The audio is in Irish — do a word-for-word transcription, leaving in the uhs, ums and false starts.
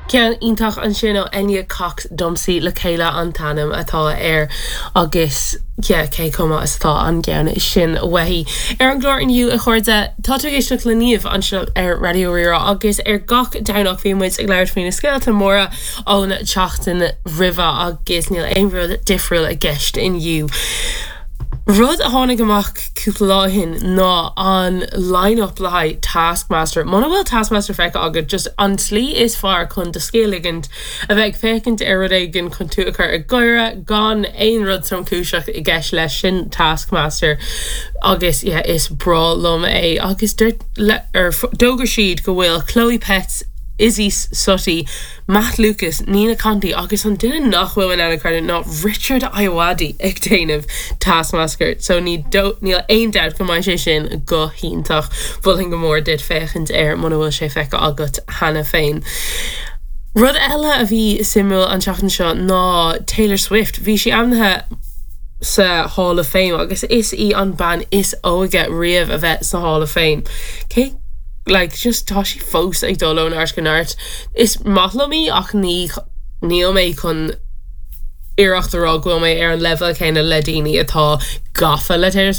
Ceann iontach ansin ó Enya Cox Domsa le chéile an t-ainm atá air agus yeah, cé chomh maith is atá an ceann sin uaithi. Ar an gclár inniu a chairde tá tú ag éisteacht le Niamh anseo ar Raidió Rí-Rá agus ar gach Domhnach bíonn muid ag labhairt faoi na scéalta móra ón tseachtain roimhe agus níl aon rud difriúil i gceist inniu. Rud a tháinig amach cúpla lá ó shin ná an line-up le haghaidh Taskmaster. Muna bhfuil Taskmaster feicthe agat just an tslí is fearr chun do scíth a ligint a bheith ag féachaint ar rud éigin chun tú a chur ag gáire gan aon rud tromchúiseach i gceist leis sin Taskmaster agus yeah, is breá liom é agus d'fhógair siad go bhfuil Chloe Petts Isy Suttie, Matt Lucas, Nina Conti agus an duine nach bhfuil in ann creidiúint ná Richard Ayoade ag déanamh Taskmaster, so ní níl aon dabht go mbeidh sé sin go hiontach Mholfainn go mór duit féachaint air muna bhfuil sé feicthe agat cheana féin. Rud eile a bhí suimiúil an tseachtain seo ná Taylor Swift, bhí sí ainmnithe sa Hall of Fame agus is í an bean is óige riamh a bheith sa Hall of Fame. Cé like just tá sí fós ag dul ó neart go neart. Is maith liom í ach ní níl mé chun iarracht a rá go bhfuil mé ar an level céanna le daoine atá gafa le Taylor